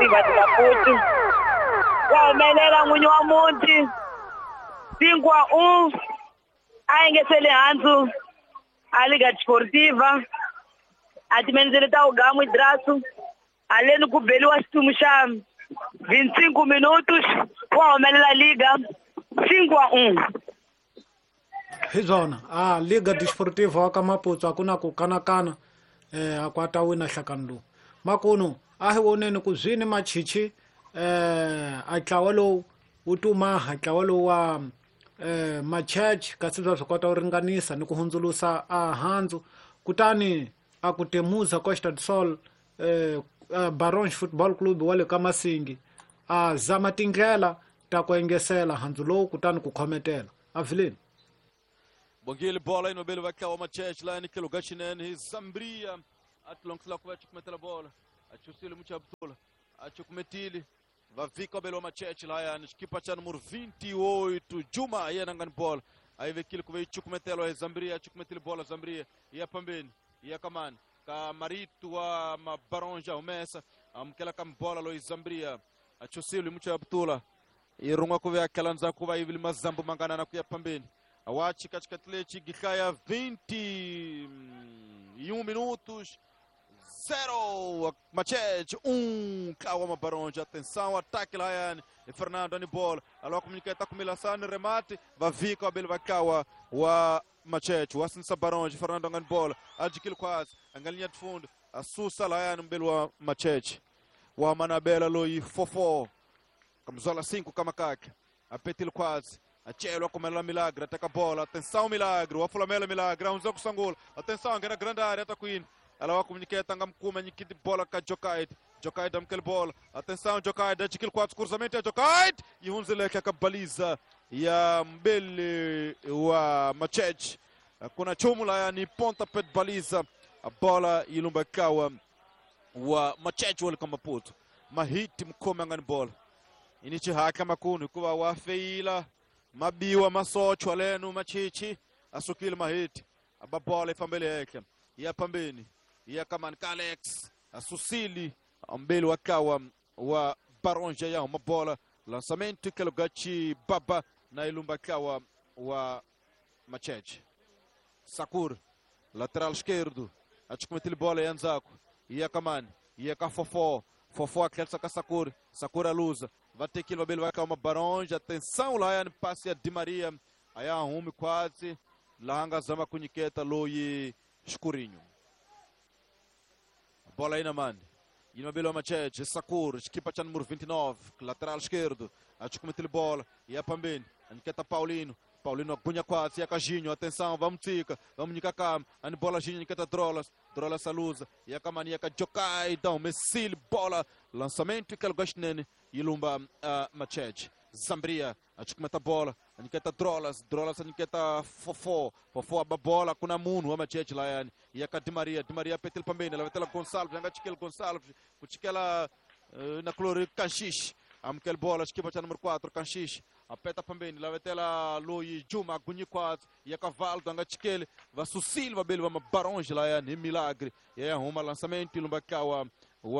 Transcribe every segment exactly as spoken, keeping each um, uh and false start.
Desportiva de Maputo. Wa humelela n'winyi wa muti cinco a um a engesele handzu a Liga Desportiva a timenzele ta ugamu idrasu aleni ku beliwa xitumu xa vinte e cinco minutos wa humelela Liga cinco a um. Hi byona a Liga Desportiva wa ka Maputo a ku na ku kanakana eh a ku ta wina nhlakano lowu makunu a hi voneni ku zwini machichi eh a ntlawa lowu wu tumaha ntlawa lowu wa eh Macheche kasi bya swi kota ku ringanisa ni ku hundzulusa a handzu kutani a ku temuza Costa do Sol eh Baronge Football Club wa le ka Masingi a zama tindlela ta ku engesela handzu lowu kutani ku khometela avileni. Bongile bola inobele va Macheche la ni kelo gachinene hi Zambria atlonksla ku va chukumetela bola achusile muchabutula achukumetile va vika belo Macheche la yani xikipa cha número vinte e oito Juma yena ngani bola ayivekile ku ve chukumetela hi Zambria achukumetile bola Zambria ya pambeni ya kamani ka Marito wa Mabaronja humesa amukela ka bola lo Zambria achusile muchabutula irunga ku ve akalanza ku va ivili mazambu mangana na ku ya pambeni. Awachi katikati lechi gikhaya vinte e um minutos, zero, Macheche, um, Kawa Mabaronja, atenção, ataque lá, e Fernando Anibol, alô, comunica, tá com Milassane, remate, vai vir com a Belva Kawa, o Macheche, o Assinsa Baronja, Fernando Anibol, adquilo quase, a galinha de fundo, a Sussa Laiane, Belua Macheche, o Amanabela Loi, Fofó, camisola cinco, Kamakak, a Petil quase. Achelo comela Milagre, ataca a bola, atenção Milagre, o Afulamela Milagre, um jogo sangol, atenção, na grande área, tá Queen, ela vai comunicar, tangam kuma, nikit bola ka Jokait, Jokait amkel bola, atenção Jokait, adquil quatro cruzamento, Jokait, e um zeleke a baliza ya Mbele wa Macheche, kuna chumula yani ponta pet baliza, a bola ilumba kawa wa Macheche wal kamaputo, mahiti mkome ngani bola, inichi haka makunu kuwa wafeila. Mabiwa masochwa lenu machichi asukile mahiti ababola ifambele yake ya pambeni ya kaman Kalex asusili ambele wakawa wa Baronja ya mabola lançamento kelogachi baba na ilumba kawa wa Macheche Sakur lateral esquerdo achukumetile bola yanzako ya kaman ya kafofo Fofo akelsa ka Sakur Sakur aluza vai ter que vai calma Baronja, atenção lá é passe a Di Maria, aí arrume quase, lá zama kuniketa loi escurinho. Bola aí na mano. E no Belo Macheche, Sakur, equipa cha número vinte e nove, lateral esquerdo, a chukumetile bola, e a pambeni, a Paulino. Paulino agunha quase, e a Cajinho, atenção, vamos tica, vamos nicacam, a bola Ginho, niketa Drolas, Drolas aluza, e a Kamania, Jokai, então, Messil, bola, lançamento, que é Ilumba uh, Macheche, Zambria, a chukumeta bola, a niketa Drolas, Drolas, a niketa Fofó, Fofó a bola, com a Muno, a Macheche, Laiane, e a Di Maria, Di Maria petil pambeni, ela vai ter Gonçalves, a Chiquel Gonçalves, o Chiquela na clori Canchiche, a Miquel bola, equipa número quatro, Canchiche. Apeta pambeni, lá vai ter lá Loi Juma, Gunhi quatro, e a cavalo, Danga Chiquele, vai Susilva, Belo, vai Baronge lá, é milagre, e é arruma lançamento, Lumbacawa, o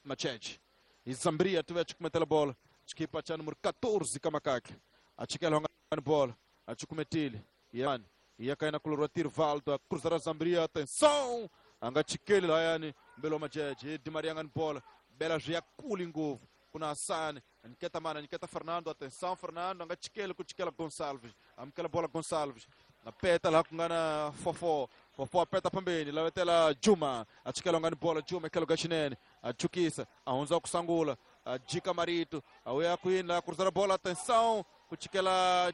Macheche. E Zambria, tu vai te cometer a bola, equipa número quatorze, Kamakak, a Chiquele a bola, a Chucumetile, e a e a cair na color Tirvaldo, a cruzar a Zambria, atenção, Anga Chiquele lá, é Belo Macheche, Di Maria bola, Bela Gia Kulingo. Kuna Hassan, Niketa Mana, Niketa Fernando, atenção Fernando, anga Chiquele com Chiquela Gonçalves, amkela bola Gonçalves, na peta lá com gana Fofó, Fofó apeta pambeni, lá vai ter lá Juma, a Chiquela ngani bola Juma, aquela Gachinene, a Chukisa, a Hunza Kusangula, a Dica Marito, a Uia Queen, lá cruzar a bola, atenção, com Chiquela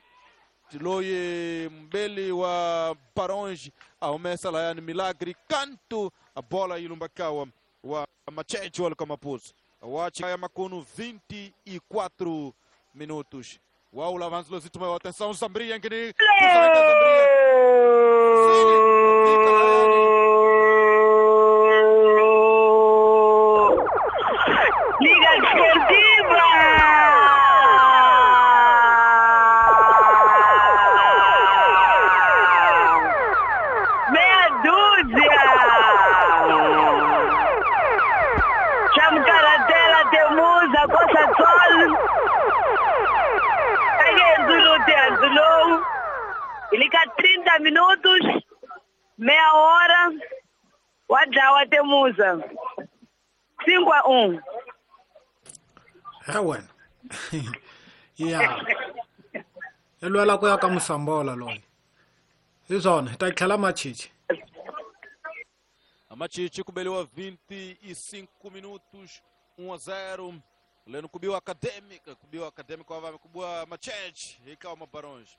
Loi Mbele wa Baronge, a Umessa lá Milagre, canto, a bola Ilumbakawa, wa Macheche wal Kamapuzo. Watch Macuno vinte e quatro minutos. Uau, avanço Lozito, maior atenção, Zambria, que Liga Desportiva! Meia dúzia! Chama o cara dela, deu Hi le ka trinta minutos, meia hora, wa dlawa Temuza. Cinco a um. He wena. Ya. I lwela ku ya ka Musambola loyi. Hi swona, hi ta tlhela Machichi. Machichi kubeliwa vinte e cinco minutos, um a zero. Leno kubiwa Acadêmica, kubiwa Acadêmica wa kubiwa Macheche, ikawa Mabarões.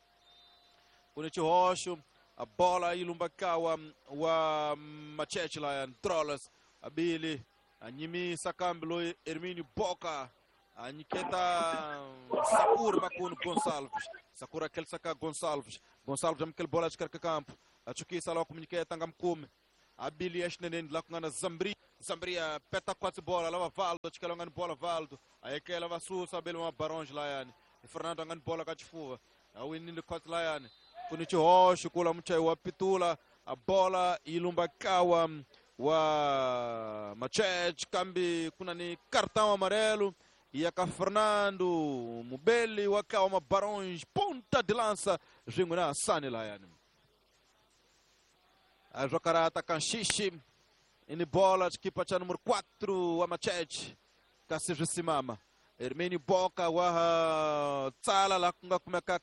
Kunichi Rocho, a bola ilumbakawa wa Macheche lá Trolas, a Billy, a Nyimi Sakambilo, Hermínio Boca, a Niketa Sakura Macuno Gonçalves, Sakura aquele saca Gonçalves, Gonçalves aquele bola de carca campo, a Chuquissa lá com Niketa Ngamkume. A Billy Eshnenen lá com a Zambri, Zambria peta quatro bola, lá Valdo, acho que ela ganha bola Valdo, aí que ela vai sussa, Abel uma Barões lá yani, e Fernando ganha bola cachifuva, a Winnie quatro lá yani, Kunichi Rocho, kula mchai wa Pitula, a bola ilumbakawa wa Machete, kambi kuna ni cartão amarelo, e a Fernando Mubeli wakawa Mabarões, ponta de lança, Jinguna Sani lá yani. A Jocarata Kanchichi, em bola, equipa cha número quatro, a Machete, Cassius Simama. Hermínio Boca, wa Tsala, lá com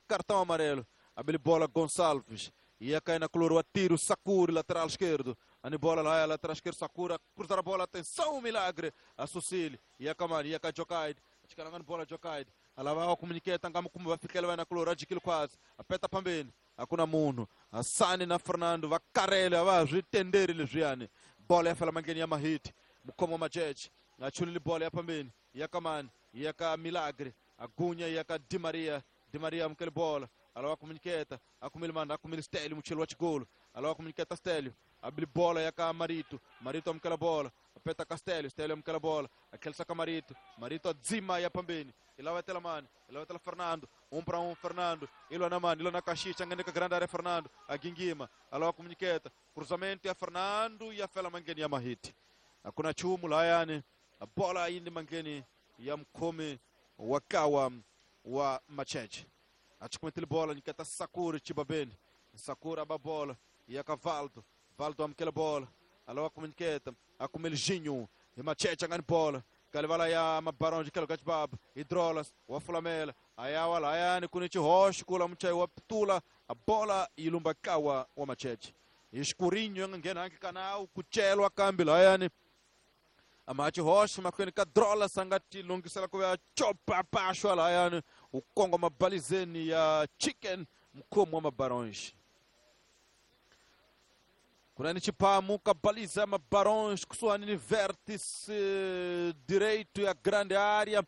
cartão amarelo. A bola Gonçalves, e a cai na color, o tiro, Sakura, lateral esquerdo. A bola lá, lateral esquerdo, Sakura, cruzar a bola, atenção, milagre. A Sucile, e a Kamari, e a Jokaid, a bola Jokaid. A lavar o comuniquete, como vai ficar, vai na color, a de quase, a peta pambene. Hakuna munhu Asani na Fernando va karele va swi tenderi leswiyani bola ya fela mangeni ya Mahiti mukhomo Macheche achulile bola ya pambeni ya Kamani ya ka Milagre agunya ya ka Di Maria Di Maria amukele bola alawa komuniketa akumile manda akumile Stelio muchelo wa chigolo alawa komuniketa Stelio abili bola ya ka Marito Marito amukela bola apeta Castelio Stelio amukela bola akelsa ka Marito Marito adzima ya pambeni ilawa tela mani ilawa tela Fernando um para um Fernando ilo na mani ilo na Caxixa ngene ka grande área Fernando a Gingima alawa komuniketa cruzamento ya Fernando ya fela mangeni ya Mahiti akuna chumu la yani a bola indi mangeni ya mkome wakawa wa Macheche achukumetile bola nikata Sakura Chibabeni Sakura ba bola ya Cavaldo Valdo amkela bola alawa komuniketa akumele Ginho e Macheche ngani bola Kalivala ya Mabarão de Kelo Gachbab, Hidrolas, o Fulamela, Ayawa Layane, Kunichi Roche, Kula Muchai, Waptula, a bola e Lumbakawa, o Machete. Escurinho, Ngenang Canal, Cuchelo, a Cambi, Layane, a Mate Roche, Macuenica Drola, Sangati, Lungisela, Chopa, Pacho, Layane, o Congo, Mabalizene, a Chicken, Mkomo, Mabarões. Kunani Chipamuka baliza Mabarões kusuani vértice direito e a grande área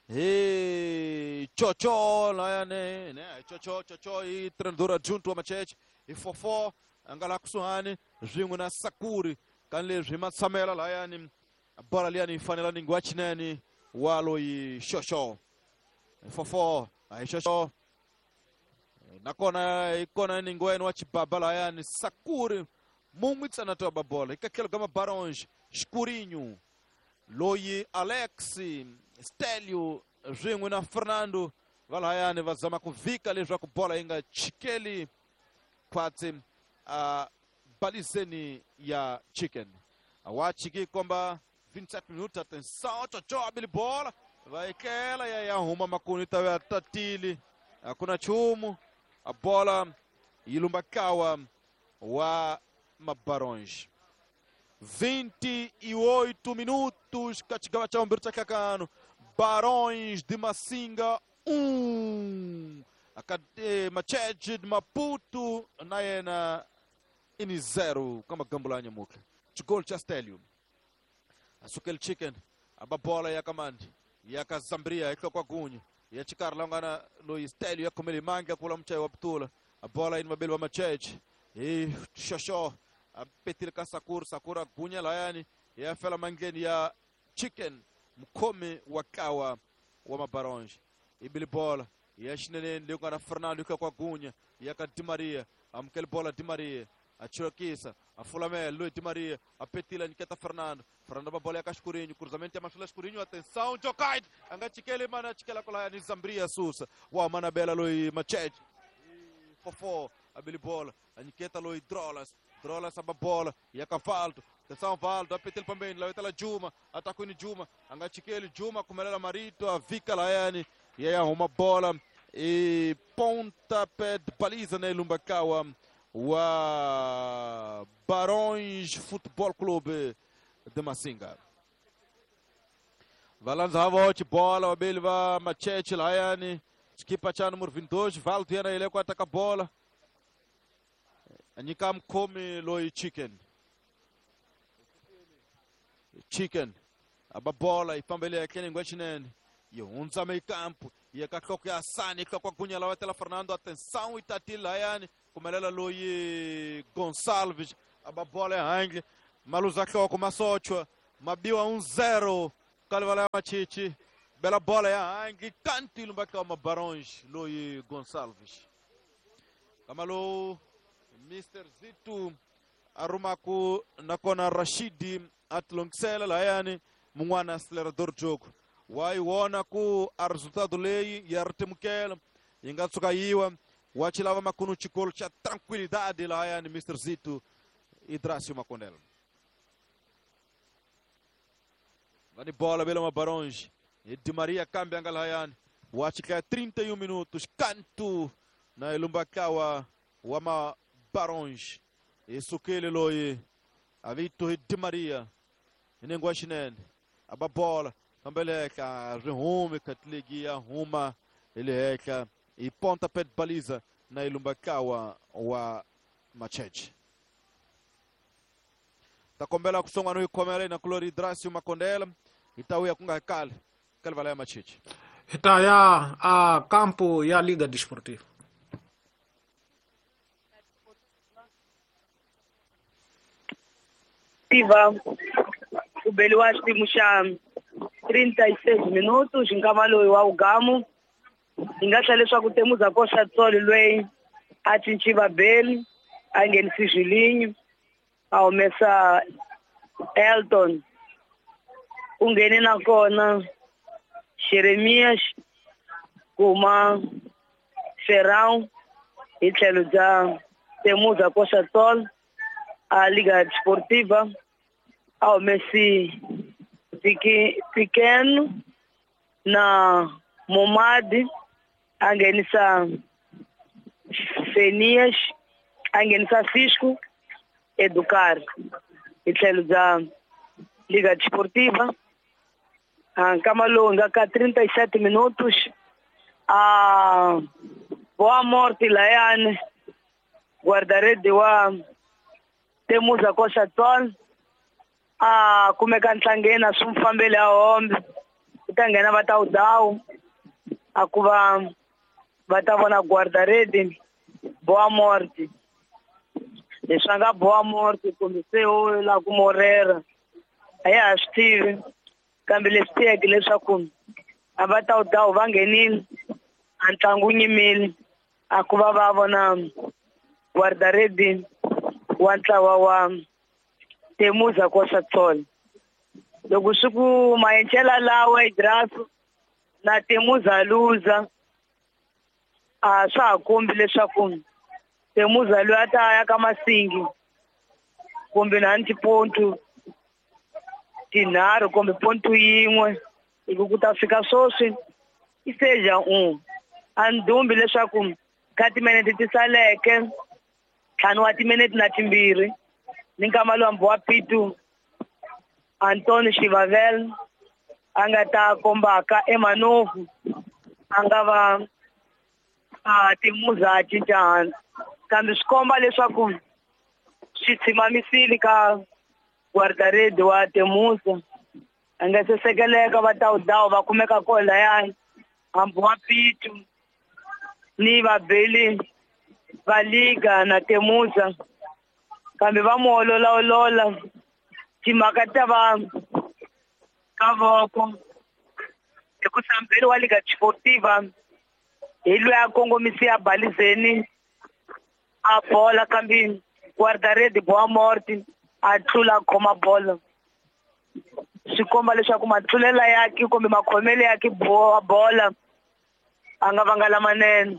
e Chocho lá né né Chocho Chocho e treinador adjunto a Machete e Fofó angala kusuani zingo na Sakuri kanle zima Samela lá yani a bola ali ani fanela ninguachinene walo e Chocho Fofó aí Chocho na kona ikona ningweno wa Chibaba lá yani Sakuri muito na tua bola. E que aquele gama Barões, Escurinho, Loi, Alex, Stélio, Ringo na Fernando, Valaiane, vazama com Vika, ali joga com bola ainda, Chiqueli, quase a Balizeni e a Chicken. A Wachiki comba vinte e sete minutos, atenção, tchau, abili bola, vai aquela e aí arruma Macunita, vai a Tatili, a Kunachumo, a bola, Ilumbakawa, wa Mabarões. vinte e oito minutos, Catigaba Tchau, Barões de Massinga, um. Machete de Maputo, Naena, ini zero. Kama Gambulanya Muka. Gol Chastelio. Asukel Chicken, a bola ya Kamandi, ya Zambria, ya Kwagunha, ya Chikarlangana, Luiz Telio, ya Kumeli Manga, Kula Mchai Waptula, a bola in Mabel Machete. E Xoxó, a Petilka Sakura, Sakura Gunya Layani, e a Fela Mangeni ya Chicken, Mkome Wakawa, wa Mabarões. E Bilibola, e a Chinene, Leogana Fernando, com a Gunya, e a Di Maria, a Mkel Bola Di Maria, a Chiroquissa, a Fulamé, Luiz Di Maria, a Petila, Niqueta Fernando, Fernando Babola, Cascurinho, cruzamento, a Machula Escurinho, atenção, Jokaid, Angachikele, Mana, Chiquela, Colaiani, Zambria, Sussa, o Manabela, Luiz Machete, Fofó, A bele bola, a nyiketa loyi Drolas, Drolas aba bola, ya ka Valdo. Atenção Valdo, a petele pambeni, la Juma, atakwini Juma, a nga chikeli Juma kumelela Marito, a vika layani, ya ya huma bola e pontapé de baliza na Lumbakawa wa Barões Futebol Clube de Massinga. Valanza havote bola, wabeli va Macheche layani, xikipa cha número vinte e dois, Valdo yena ile ku ataka bola. Anyika mkhomi loyi Chicken. Chicken aba bola yi fambele etlhelo ngwechinene yi hundza mekampo ya ka nhloko ya Sani nhloko gunya lawa tela Fernando atenção e tatile layani kumelela loyi Gonçalves aba bola ehandle maluza nhloko masochwa mabiwa um zero kalivala ya Machichi bela bola ya handle kanti lumbaka ma Barões loyi Gonçalves kamalo Mister Zitu arumaku nakona Rashidi atlongisela layani mun'wana acelerador jogo wa yi vona ku a resultado leyi ya ri timukela yi nga tshuka yiwa wa chi lava makunu xikolo xa tranquilidade layani Mister Zito Idracio Makondela va ni bola bela ma Barões e Di Maria kambe anga layani wa chika trinta e um minutos canto na Ilumbakawa wa ma Barões e sukele loyi a Vitor Di Maria inengwa xinene aba bola fambeleka rihume katlegi ya huma ile heka e pontapé de baliza na Ilumbakawa wa Macheche takombela kusonga no ikhomela na Kulori Idracio Makondela itauya kunga kale kale ya Macheche itaya a campo ya Liga Desportiva ku beliwa xitimu xa trinta e seis minutos nkama loyi wa ugamu hi nga tlhela leswaku Temuza Koxa Tsolo loyi a cinci vabeli a nghenisi Julinho a humesa Elton u nghene nakona Jeremias kuma Ferrão hi tlhelo bya Temuza Koxa Tsolo a Liga Desportiva a humesi Pequeno na Momadi a nghenisa Fenias a nghenisa Cisco Educar hi tlhelo bya Liga Desportiva a nkama lowu nga ka trinta e sete minutos a Boa Morte layani guarda-rede wa Temuza Koxa Tsolo a kumeka ntlangeni a swi n'wi fambeli a hombe ku ta nghena va ta udawu a ku va va ta vona guarda-rede Boa Morte leswi a nga Boa Morte kumbe se u lava ku morera a ya ha swi tivi kambe leswi tiyeke leswaku a va ta udawu va nghenile a ntlangu wu nyimile a ku va va vona guarda-rede wa ntlawa wa Temuza Koxa Tsolo loko swi ku maenchela lawa Idraso na Temuza luza a swa ha kombi leswaku Temuza loyi a ta ya ka Masingi kumbe na tipontu tinharhu kumbe pontu yin'we hi ku ku ta fika sweswi i seja un a ni dumbi leswaku ka timinete ti saleke ntlhanu wa timinete na timbirhi ni nkama lowu wa Pitu Antonio Xivavel a nga ta kombaka eManovu a nga va a Temuza a cinca hansi kambe swi komba leswaku swi tshimamisile ka guarda-rede wa Temuza a nga se sekeleka va tawudawu va kumeka kona layani hambi wa Pitu ni vabeli va Liga na Temuza kambe va mu ololaolola timhaka ta va ka voko hi ku sambeli wa Liga Desportiva hi loyi a kongomisi a balizeni a bola kambe guarda-rede Boa Morte a tlula a khoma bolo swi komba leswaku matlulela yake kumbe makhomelo yake bola a nga vanga lamanene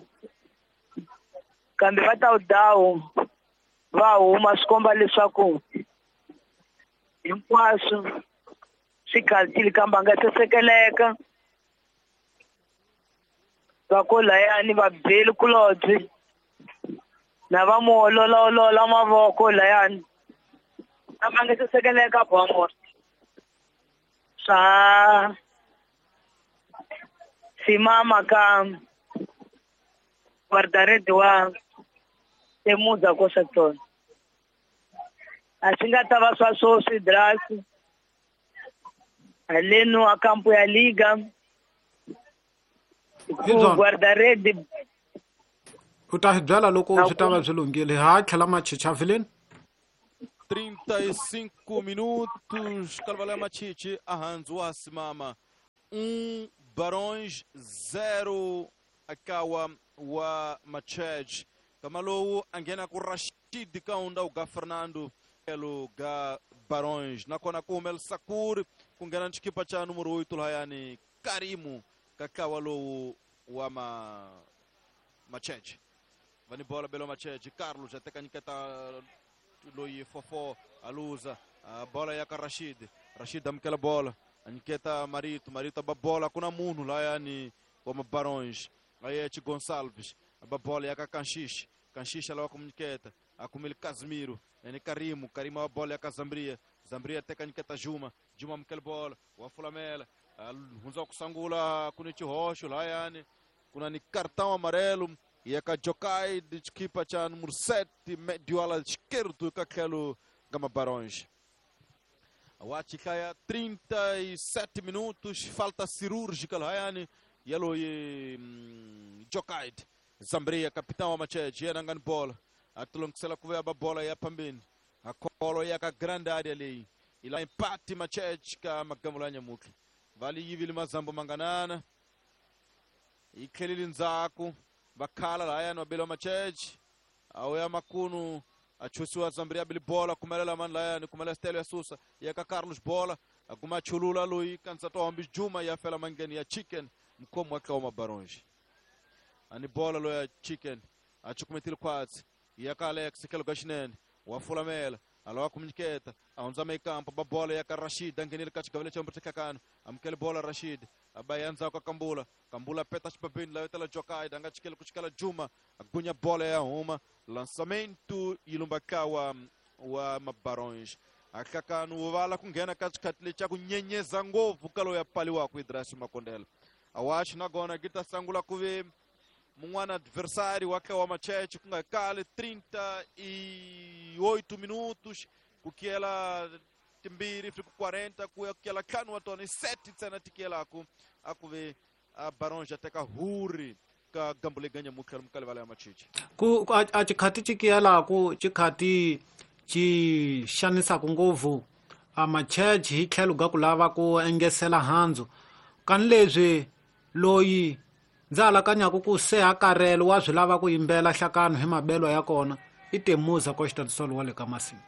Kambe va ta dawu va huma swi komba leswaku hinkwaswo swi khaltile kambe a nga sesekeleka. Va ko layani va beli kulobye na va mu ololaolola mavoko layani kambe a nga sesekeleka bomo swa simama ka guardarede wa Temuza Costa do Sol. A swi nga ta va swa swoswi drasi haleno a kampo ya liga ku guardarede u ta hi byela loko swi ta va swi lunghile ha tlhela machichi avileni. trinta e cinco minutos Calvalé Machichi ahanzu wa simama um Barões zero akawa wa Machej kamalowu angena ku Rashid Kaunda uga Fernando elo ga Barões nakona ku Mel Sakur kungena nchikipa cha número oito lahayani Karimu kakawa lowu wa ma Machej vani bola belo Machej Carlos ateka nyiketa loyi fofo aluza a bola ya ka Rashid Rashid amkela bola anyiketa Marito Marito ba bola kuna munhu lahayani wa Barões aí Gonçalves a bola ya ka Kanxixe Kanxixe alawa kumunyiketa akumile Casimiro ene Karimu Karimu a bola ya ka Zambria Zambria teka nyiketa Juma Juma amkela bola wa Fulamela hunza kusangula kuni chihoxo lahayani kuna ni cartão amarelo ya ka Jokai de equipa cha número sete médio ala esquerdo ka tlhelo ga Barões. Wachikaya trinta e sete minutos falta cirúrgica lahayani yalo ye Jokai Zambria capitão wa Machete yena ngani bola atulongisela kuveya ba bola ya pambeni akolo ya ka grande área leyi ila empate Machete ka magamula ya nyamutlha vali yivile mazambo manganana ikhelile ndzhaku vakhala lahayani wabeliwa Machete awuya makunu achusiwa Zambria bili bola kumelela mani lahayani kumela stelo ya susa ya ka Carlos bola akuma chulula loyi kansa hombi Juma ya fela mangeni ya Chicken mkomo wa kaoma Barões ani bola loya Chicken achukumetile kwatsi ya ka Alex kelo gashinene wa Fulamela alawa kumunyiketa ahunza meikampo ba bola ya ka Rashid angenile ka xigavele xa mbrithekakano amukele bola Rashid abayanza ka Kambula Kambula peta xipapeni la yotela Jokai anga chikele ku chikela Juma agunya bola ya huma lançamento ilumba kawa wa Mabarões akakano vala kunghena ka xikhati lexi ku nyenyeza ngopfu ka loyi a paliwaka Idrasi Makondela awaxi nagona gita sangula ku ve mun'wana adversário wa wa Machete ku nga kale trinta e oito minutos ku kiyela timbirhi fika quarenta ku ya kiyela ntlhanu wa tona i sete ntsena ti kiyelaku a ku ve a Barões a teka huri ka gambu leyi ganyamutlha lomu ka livala ya Machichi ku a xikhati xi kiyelaku xikhati xi xanisaka ngopfu a Machete hi tlhelo ga ku lava ku engesela handzu kani leswi loyi ndza alakanyaku ku se hakarelo wa swi lava ku yimbela hlakano hi mabelo ya kona i Temuza Costa do Sol wa le ka Masingi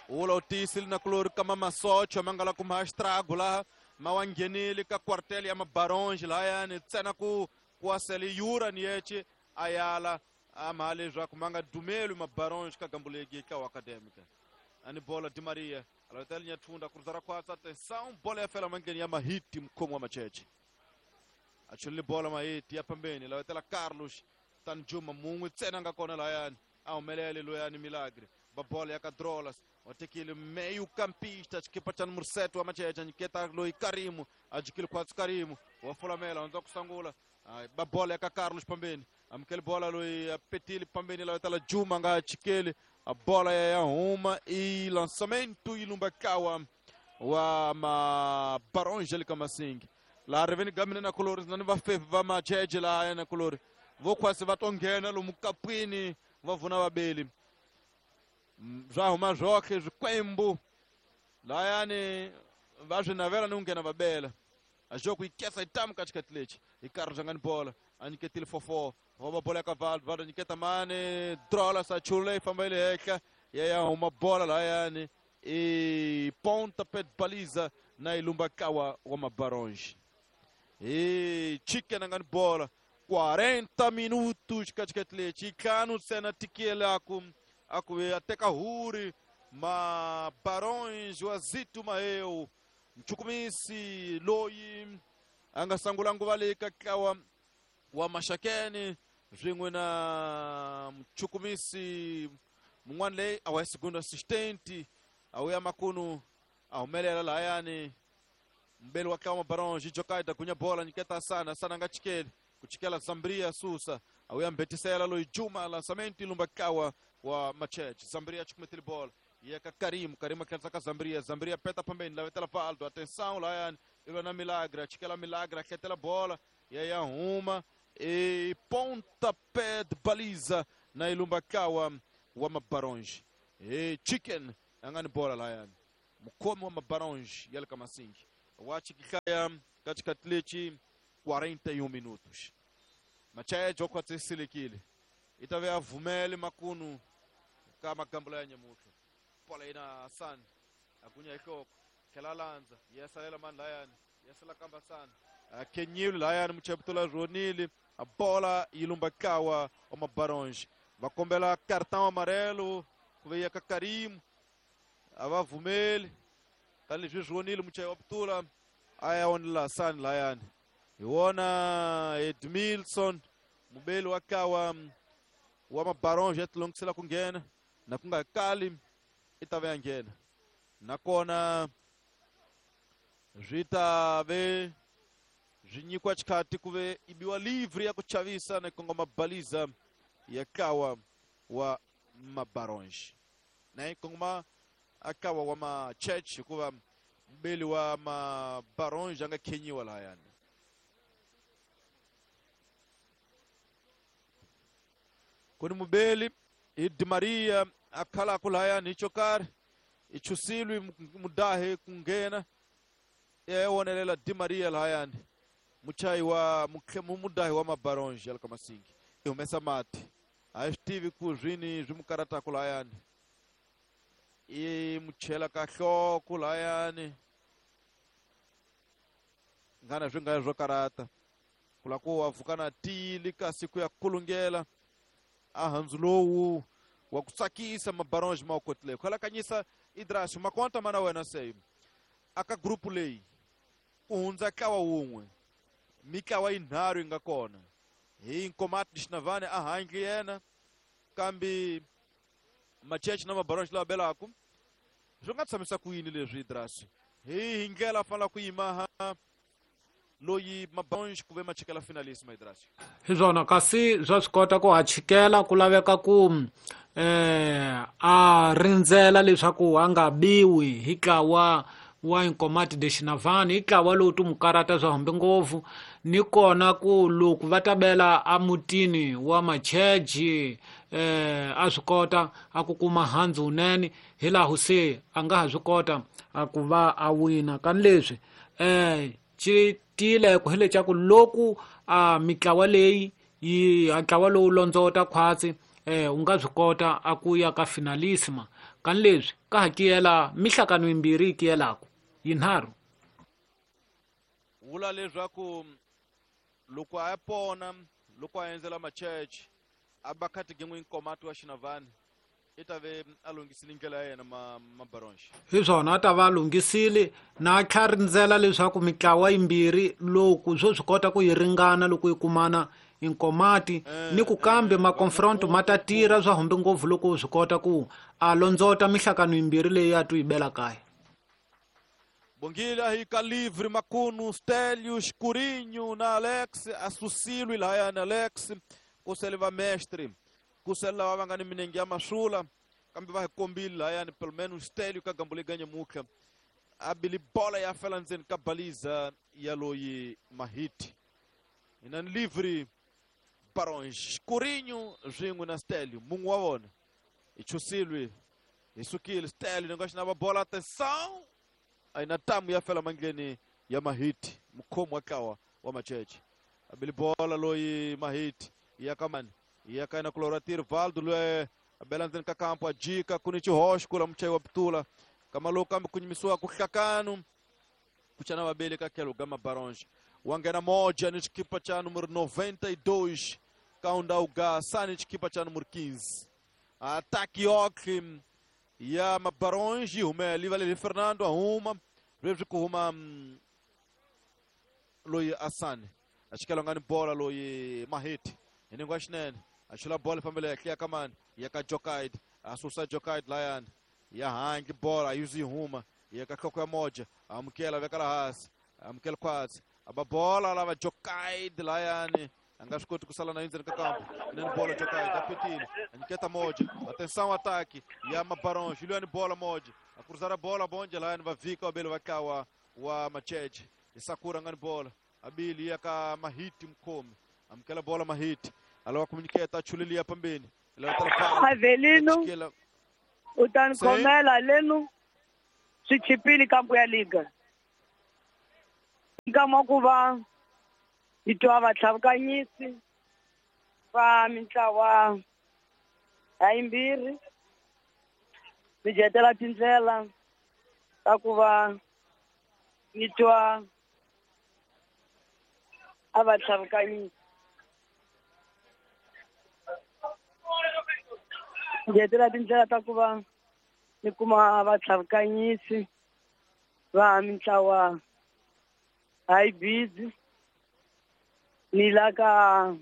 ula u tiyisile na kulori ka mamasocho ma nga la kuma estrago laha ma wa nghenile ka quartel ya Mabarões lahayani ntsena ku ku asele yura ni yeche a yala a mha leswaku ma nga dumeli Mabarões ka gambu legi ka acadêmica ani bola Di Maria alotela nyathunda kuruza ra khwatsa atenção bola ya fela mangheni ya Mahiti mkhomo wa Machete achulile bola Mahiti ya pambeni lawetela Carlos Tanjuma mun'we ntsena nga kona lahayani a humelele loyani Milagre ba bola ya ka Drolas watekile meio campista xikipa xa número sete wa Machete anyiketa loyi Karimu ajikile khwatsi Karimu wa Fulamela hundza ku sangula ba bola ya ka Carlos pambeni amukele bola loyi apetile pambeni lawetela Juma nga chikele a bola ya huma e lançamento ilumba kawa wa ma Barões le ka Masingi laha riveni ga mina na kulori na ni vafefi va Machete laha na kulori vo khwasi va to nghena lomu kapwini va vuna vabeli swa huma swoxe swikwembu lahayani va swi navela ni ku nghena va bela a xo ku yi kesa yi tamu ka xikhati lexi hi karhi bya nga ni bola a nyiketile four four va va bola ya ka Valdo Valdo nyiketa mani drola sa chula yi famba yi le henhla ya ya huma bola lahayani i ponta pé de baliza na ilumba kawa wa Mabarões e Chicken angani bola quarenta minutos katikati ntlhanu ntsena tikelaku a ku ve a teka huri ma Barões wa Zito Maheu mchukumisi loyi a nga sangula nguva leyi ka ntlawa wa Maxakeni swin'we na mchukumisi mun'wana leyi a wa segundo assistente a wu ya makunu a humelela lahayani mbeli wa ntlawa wa Barões Jokaida gunya bola nyiketa sana sana nga chikeli kuchikela Zambria susa a wu ya mbetisela loyi Juma lançamento ilumba ntlawa wa Machete Zambria chukumetile bola yeka Karim Karim akhensa ka Zambria Zambria peta pambeni lavetela Valdo atenção lahayani ilwa na Milagre chikela Milagre akhetela bola ya ya huma e pontapé de baliza na ilumba kawa wa Mabaronge e Chicken angani bola lahayani mukhomi wa Mabaronge yale kamasingi wachikikaya katikati lechi quarenta e um minutos Machete okhwatsiselekile itave avumele makunu ka magambo ya nyamuhla bola ina Hassan agunya ihloko khela lanza yesalela mani layani yesela kamba sana akenyile layani mucheputula ronile a bola ilumba kawa wa Mabaronge vakombela cartão amarelo kuveya ka Karim avavumeli tani leswi ronile mucheputula aya onela Hassan layani iwona Edmilson mubeli wa kawa wa Mabaronge atilongisela ku nghena na ku nga kali i ta ve ya nghena nakona swi ta ve swi nyikiwa xikhati ku ve i biwa livre ya ku chavisa na kongoma baliza ya kawa wa Mabaronge na yi kongoma a kawa wa Machete hikuva mbeli wa Mabaronge a nga khenyiwa lahayani kuni mubeli i Di Maria akhala lahayani hi xo karhi i chusilwi mudahe ku nghena ya wonelela Di Maria lahayani muchayi wa mudahi wa Mabaronge ya le ka Masingi i humesa mati a yi swi tivi ku swini swi mu karataku lahayani i mu chela ka nhloko lahayani nghana swi nga swo karata ku la ku wa pfuka na tili kasi ku ya kulungela a handzu lowu wa ku tsakisa Mabaronge ma wu kotile ku halakanyisa Idrasi makonta mana wena se aka grupu leyi ku hundza ntlawa wun'we mitlawa yinharhu yi nga kona hi Nkomati Xinavane a handle yena kambe Machete na Mabaronge lava belaku swi nga tshamisa ku yini leswi Idrasi hi hi ndlela fanela ku yima ha loyi Mabaronge ku ve machikela finalissima Idrasi hi swona kasi swa swi kota ku ha chikela ku laveka ku eh a rindzela leswaku a nga biwi hi ntlawa wa Nkomati de Xinavane hi ntlawa lowu ti mu karata swa hambi ngopfu ni kona ku loko va ta bela emutini wa Machete eh a swi kota a ku kuma handzu wunene hi laha se a nga ha swi kota a ku va a wina kani leswi eh xi tiyile ku hi leswaku loko a mitlawa leyi yi ntlawa lowu londzota khwatsi eh u nga swi kota a ku ya ka finalissima kani leswi ka ha kiyela mihlakano yimbirhi yi kiyelaku yinharhu vula leswaku loko a ya pona loko a endzela Machete a ba khati gin'we Nkomati wa Xinavane i ta ve a lunghisile ndlela ya yena ma Mabaronge hi swona a ta va a lunghisile na tlha rindzela leswaku mitlawa yimbirhi loko swo swi kota ku yi ringana loko yi kumana Nkomati ni ku kambe maconfronto ma ta tirha swa humbi ngopfu loko swi kota ku a londzota mihlakano yimbirhi leyi a tu yi bela kaya Bongile hi ka livre makunu Stélio Escurinho na Alex asusilo lahayani Alex ku sele va mestre ku sele lava va nga ni minenge ya masula kambe va hi kombile lahayani pelo menos Stélio ka gambo leyi ganyamutlha a bili bola ya fela ndzeni ka baliza ya loyi Mahiti ina ni livre Barões Escurinho swin'we na Stélio mun'we wa vona i chusilwe hi sukile Stélio ni nga xi na bola atenção a ina tamu ya fela mandleni ya Mahiti mukhomi wa ntlawa wa Machete a bili bola loyi Mahiti ya ka mani ya ka na kulora tir Valdo loyi a bela ndzeni ka kampo a jika ku ni xihoxo kula muchayi wa pitula kama lowu kambe ku nyimisiwa ku hlakanu ku chana vabeli ka tlhelo ka Mabaronge Wa nghena Moja ni xikipa cha número noventa e dois Kaundauga Sani xikipa cha número quinze. Ataque ok ya Mabarões yi humele yi valele Fernando a huma leswi ku huma loyi Asani a xikela nga ni bola loyi Mahiti hi ningo wa xinene a xula bola fambela ya tliya ka mani ya ka Jokaid a susa Jokaid layani ya hangi bola yuzi yi huma ya ka nhloko ya Moja amukela veka la hansi amukela khwatsi a ba bola lava Jokaid layani a nga swi koti ku sala na endzeni ka kampo inene bola Jokaid a petile a nyiketa Moja atenção ataque ya Mabarões Juliano bola Moja a cruzar a bola bonde layani va vika va bele va tlawa wa Macheche Isakura nga ni bola abili ya ka Mahiti mkhomi amukela bola Mahiti alava ku nyiketa a chulelia pambeni Avelino u ta ni khomela lenu swi chipile kampo ya liga nkama ku va hi twa vatlhavukanyisi va mintlawa ya yimbirhi mi jetela tindlela ta ku va ni twa a vatlhavukanyisi jetela tindlela ta ku va ni kuma vatlhavukanyisi va mintlawa hayi busy ni la ka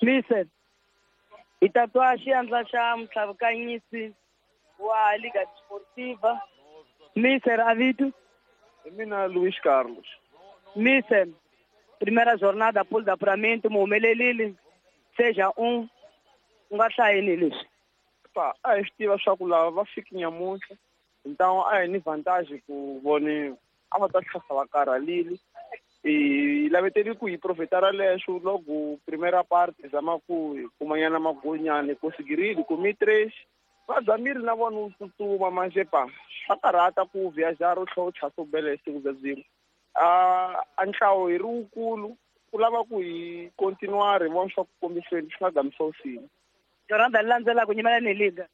Listen, hi ta twa xiandla xa mutlhavukanyisi wa Liga Desportiva Mister Avito. Hi mina Luis Carlos. Mister, primeira jornada após apuramento mu humelelile seja um u nga hlayeni leswi. Pa, a hi swi tiva swa ku lava va fiki nyamuntlha então a hi ni vantagem ku vone a va ta tlhasa va karhalile hi laveteli ku hi profitara leswo loko primeira parte zama ku hi kumanyana magonyana conseguirile kumi três va zamile na vona u tsutsuma manje pa swa karhata ku viajar u tlhela u chasa u bele siku bya byin'we a a ntlawo hi ri wukulu ku lava ku hi continuar hi vona swa ku kombiseni swi nga gamisa usini. Jornada leyi landzelaka nyimela ni liga.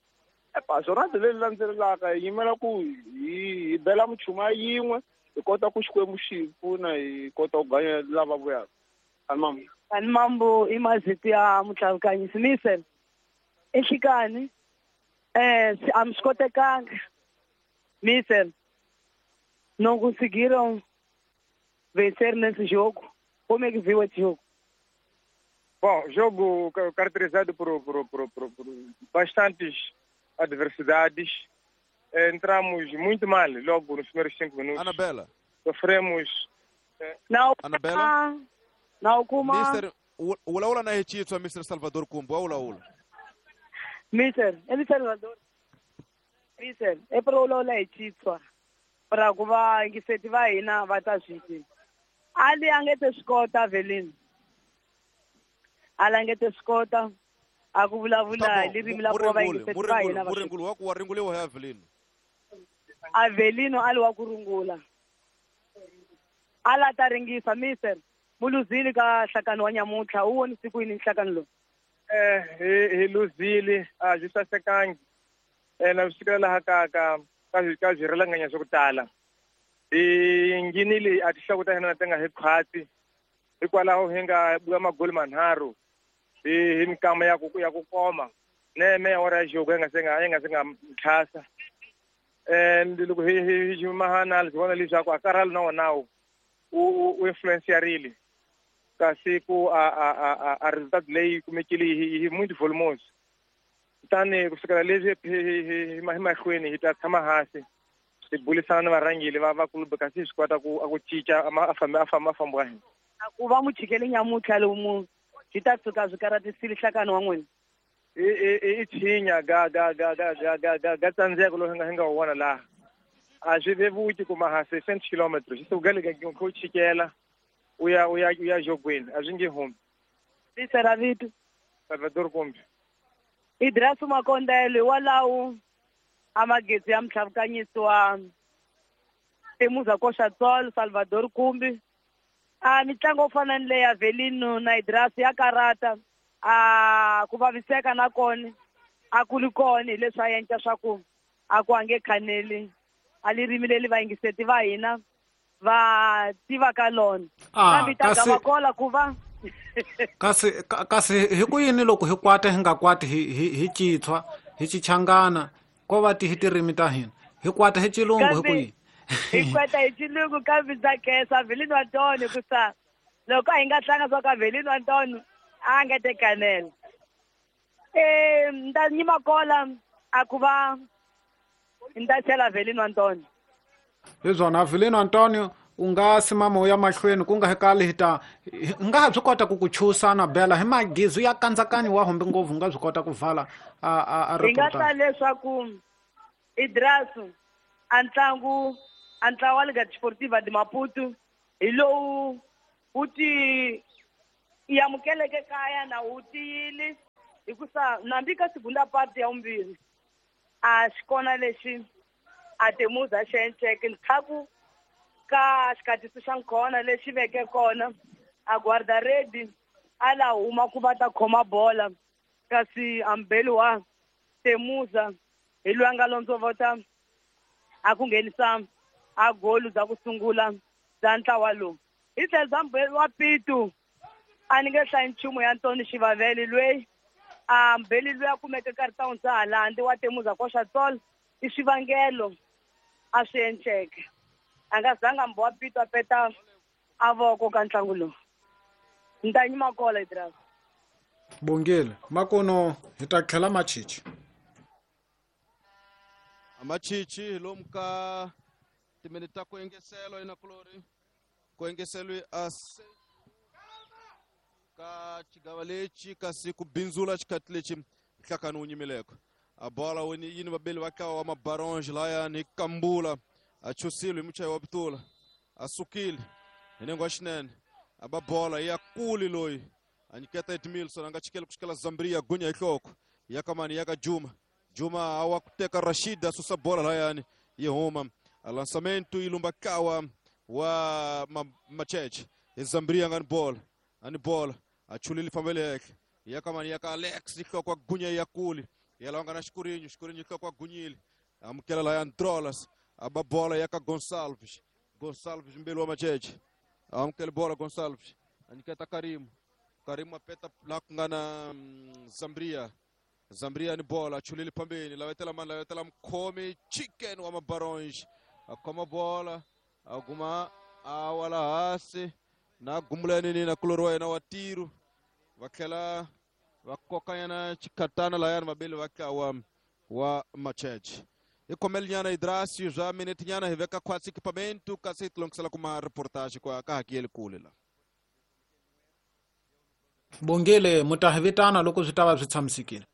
Epa jornada leyi landzelaka hi yimela ku hi hi bela muchuma yin'we hi kota ku Xikwembu xi hi pfuna hi kota ku ganya lava vuyaka. Ani Ani mambo i mazito ya mutlhavukanyisi Mister enhlikani eh a mi swi kotekanga Mister não conseguiram vencer nesse jogo. Como é que viu esse jogo? Bom, jogo caracterizado por, por, por, por, por bastantes adversidades. Entramos muito mal logo nos primeiros cinco minutos. Anabela. Sofremos. Não, Anabela. Não, kuma. Mister, ulaula na hechitwa Mister Salvador Kumbu, ulaula. Mister, é Salvador. Mister, é para ulaula hechitwa. Para ku va yingiseti va hina va ta swi tiva. Ali a nge te swi kota Avelino. Ali a nge te swi kota a ku vulavula hi ririmi la ku va yingiseti va hina va Muringulu wa ku wa ringuliwa hi Avelino. Avelino ali wa ku rungula. Ala ta ringisa Mister muluzile ka nhlakano wa nyamuntlha u vonise ku yini nhlakano lowu? Eh hi hi luzile a byi sasekangi eh na swi fikela laha ka ka ka ka byi rilanganya swa ku tala. Hi nghenile a tinhloko ta hina ti nga hi khwatsi hikwalaho hi nga buya magoli manharhu hi hi mikama ya ku ya ku koma neme ya ora ya jogo yi nga se nga yi nga se nga tlhasa and loko hi hi hi mahana hi vona leswaku a karhali na wona wu u influencerile kasi ku a a a a resultado leyi kumekile hi hi muito volumoso kutani ku sukela leswi hi hi mahlweni hi ta tshama hansi hi burisana na varhangeri va va club kasi hi swi kota ku a ku cinca a famba a famba a famba wa hina. Ku va muchikele nyamuntlha lowu mu swi ta tshuka swi karhatisile nhlakano wa n'wina. I i i tshinya ga ga ga ga ga ga ga ga tsandzeko lowu hi nga hi nga wu vona laha a swi vevuki kuma ha seiscentos quilômetros swi suka le ka ku chikela u ya u ya u ya jogweni a swi nge humi. Mister Avito Salvador Kumbi. Idrasu Makondele walawo a magezi ya mutlhavukanyisi wa Temuza Koxa Tsolo Salvador Kumbi. A mitlangu yo fana ni leya Avelino na Idrasu ya karata A ku vaviseka na kona a ku li kona hi leswi a endla swa ku a ku a nge khaneli a lirimi leri vayingiseti va hina va tiva ka lona kambe ta gamakola ku va kasi kasi hi ku yini loko hi kwata hi nga kwati hi hi hi Xitswa hi Xichangana ko va ti hi tirimi ta hina hi kwata hi Xilungu hi ku yini hi kwata hi Xilungu kambe ndza khensa Velino Antonio ku sa loko a hi nga tlanga swa ka Velino Antonio a nga te kanela eh nda nyima kola a ku va nda chela Velino Antonio hi swona Velino Antonio u nga simama u ya mahlweni ku nga hi kali hi ta nga ha byi kota ku ku chusana bela hi magizu ya kandzakanyo wa humbi ngopfu nga byi kota ku vala a a a hi nga ta leswaku Idrasu a ntlangu a ntlawa wa Liga Desportiva de Maputo hi lowu wu ti amukeleke kaya na wu tiyile hikusa nambi ka segunda parte ya vumbirhi a xi kona lexi a Temuza xi endleke ndzhaku ka xikatiso xa nkhona lexi veke kona a guarda-rede a la huma ku va ta khoma bola kasi ambeli wa Temuza hi loyi a nga londzovota a ku nghenisa a golu bya ku sungula bya ntlawa lowu hi tlhelo bya mbeli wa Pitu a ni nge hlayi nchumu ya Ntoni Xivavele loyi a mbeli loyi a kumeke karhi ta hundza halandi wa Temuza koxa tsolo i swivangelo a swi endleke a nga zanga mbo wa Pitu a peta a voko ka ntlangu lowu ni ta nyima kola Idras Bongile makono hi ta tlhela machichi machichi lomu ka timinete ta ku engeselo inakulori ku engeselwe a ka xigava lexi kasi ku bindzula xikhathi lexi nhlakano wu nyimileko a bola wini yini vabeli va ntlawa wa mabaronge layani kambula a chusile hi muchayi wa pitula a sukile hi nengo wa xinene a ba bola ya kuli loyi a nyiketa Edmilson a nga chikeli ku xikela Zambria gunya hi nhloko ya ka mani ya ka Juma Juma a wa ku teka Rashid a susa bola layani yi huma a lançamento yi lumba kawa wa Macheche hi Zambria nga ni bola a ni bola a chulile fambele henhla ya ka mani ya ka Alex hi nhloko gunya ya kuli ya lawa nga na Xikurinyo Xikurinyo nhloko a gunyile amukela laya Trolas a ba bola ya ka Gonçalves Gonçalves mbeli wa Macheche amukela bola Gonçalves a nyiketa Karimu Karimu a peta la ku nga na Zambria Zambria ni bola chulile pambeni lavetela mani lavetela mkhomi Chicken wa Mabaronge a khoma bola a guma a wala hansi na gumulani ni na kulori wa yena wa tiro va tlhela va kokanyana xikhatana layani vabeli va tlawa wa Macheche hi khomelinyana Idrasi bya minete nyana hi veka khwatsi equipamento kasi hi tilongisela kuma reportage kwa ka hakiyeli kule la Bongile mu ta hi vitana loko swi ta va swi tshamisekile.